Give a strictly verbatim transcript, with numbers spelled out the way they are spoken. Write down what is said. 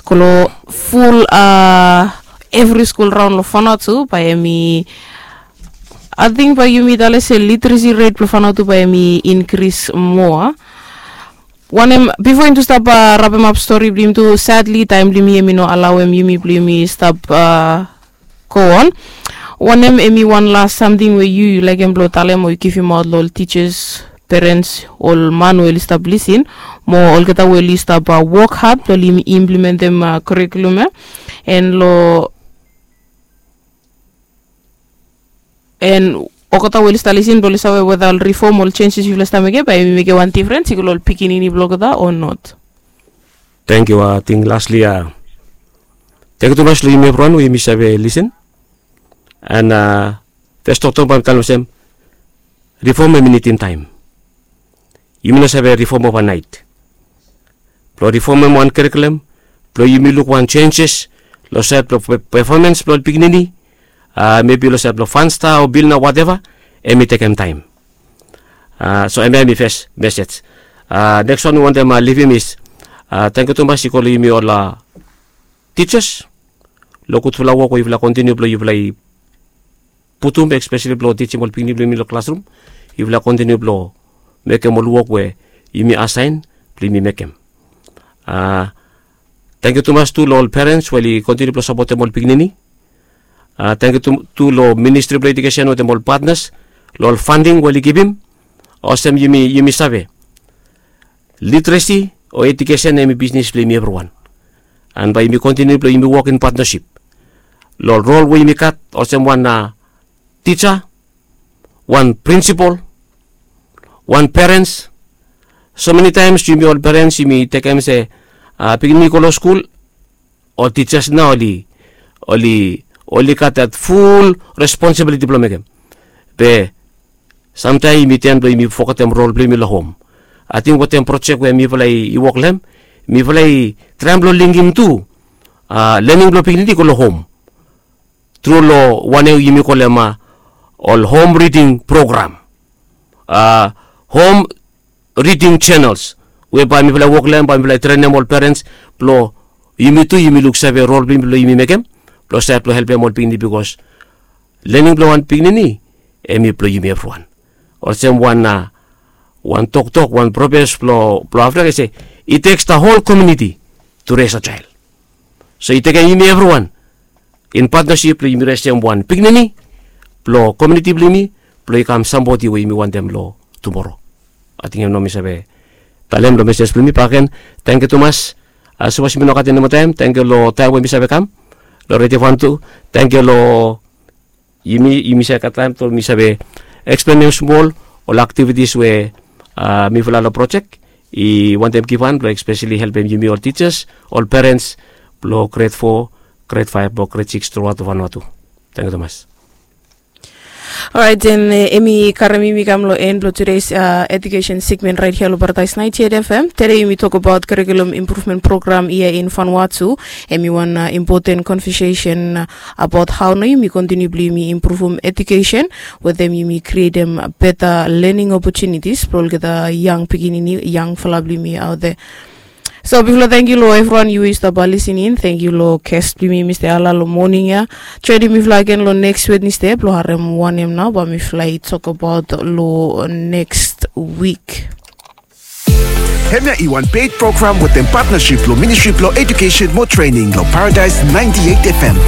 go long ful a evri skul raon long Vanuatu bae hemi, ating bae yumi talem se literacy ret blong Vanuatu bae hemi inkris moa. Wanem, bifo yumi tu stap rapemap stori blong yumi tu, sadli taem blong yumi hemi no alaoem yumi blong yumi stap go on. Wanem hemi wan las samting we yu yu laekem blong talem o yu givimaot long ol tijas, perens, ol man we oli stap lisin, mo olgeta we oli stap wok had blong oli implimentem kurikulum ya, and long and olgeta we oli stap lisin blong oli save weta ol rifom, ol jenjes yufala stap mekem bae hemi mekem wan difrens i go long ol pikinini blong olgeta o not? Tangkiu. Ating lasli, tangkiu tumas long yumi evriwan we yumi save lisin. And fes toktok bae mi talem olsem, rifom hemi nidim taem. Yumi no save rifom ovanaet. Blong rifomem wan kurikulum, blong yumi luk wan jenjes long saed blong pefomans blong ol pikinini, mebi long saed blong Funstar o Pilna, wateva, hemi tekem taem. So hemia hemi fes mesej. Neks wan mi wantem livim is tangkiu tumas i go long yumi ol tijas long gudfala wok we yufala kontiniu blong yufala i putum, espeseli blong tijim ol pikinini blong yumi long klasrum. Yufala kontiniu blong mekem ol wok we yumi asaen blong yumi mekem. Tangkiu tumas tu long ol perens we oli kontiniu blong sapotem ol pikinini. Tangkiu tu long Ministri blong Ejukesen wetem ol patnas long ol fanding we oli givim. Olsem yumi save, literesi o ejukesen hemi bisnis blong yumi evriwan. And bae yumi kontiniu blong yumi wok in patnasip long rol we yumi gat olsem wan tija, wan prinsipol, wan perens. So meni taems yumi ol perens yumi tekem se pikinini i go long skul, ol tijas nao oli, oli, oli gat dat ful responsibiliti blong mekem. Be samtaem yumi ten blong yumi fogetem rol blong yumi long hom. Ating wetem projek we mifala i wok long hem, mifala i traem blong lingim tu lening blong pikinini i go long hom tru long wanem yumi kolem ol hom riding program, hom riding jenels, we bae mifala i wok long hem, bae mifala i trenem ol perens blong yumi tu yumi luksave rol blong yumi blong yumi mekem blong saed blong helpem ol pikinini, bikos lening blong wan pikinini hemi blong yumi evriwan. Olsem wan, wan toktok, wan probes blong, blong Afrika i se, it takes the whole community to raise a child. So i tekem yumi evriwan in patnasip blong yumi resem wan pikinini blong komuniti blong yumi blong i kam sambodi we yumi wantem long tumoro. Ating hem nao mi save talem long mesej blong yumi bakegen. Tangkiu tumas. Sapos yumi no gat enimo taem, tangkiu long taem we mi save kam long Redio Vanuatu. Tangkiu long yumi, yumi save gat taem blong mi save eksplenem smol ol aktivitis we mifala long projek i wantem givhan blong espeseli helpem yumi ol tijas, ol perens blong gred fo, gred faef, blong gred sikis truaot Vanuatu. Tangkiu tumas. Orait, and hemi karem yumi kam long en blong tudeis ejukesen segmen raet hia long Paradaes naenty eight FM. Tede yumi tokbaot kurikulum impruvmen program hia in Vanuatu. Hemi wan impoten konvesesen abaot hao nao yumi kontiniu blong yumi impruvum ejukesen wetem yumi krietem beta lening opotunitis blong olgeta yang pikinini, yangfala blong yumi aot ia. So bifala, tangkiu long evriwan yu i stap lisin in. Tangkiu long ges blong yumi, Mista Ala, long moning ya. Joenem mifala agen long neks Wednesde blong harem wanem nao bae mifala i tokbaot long neks wik. Hemia i wan ped program wetem patnasip blong Ministri blong Ejukesen mo Trening long Paradaes naenty eight FM.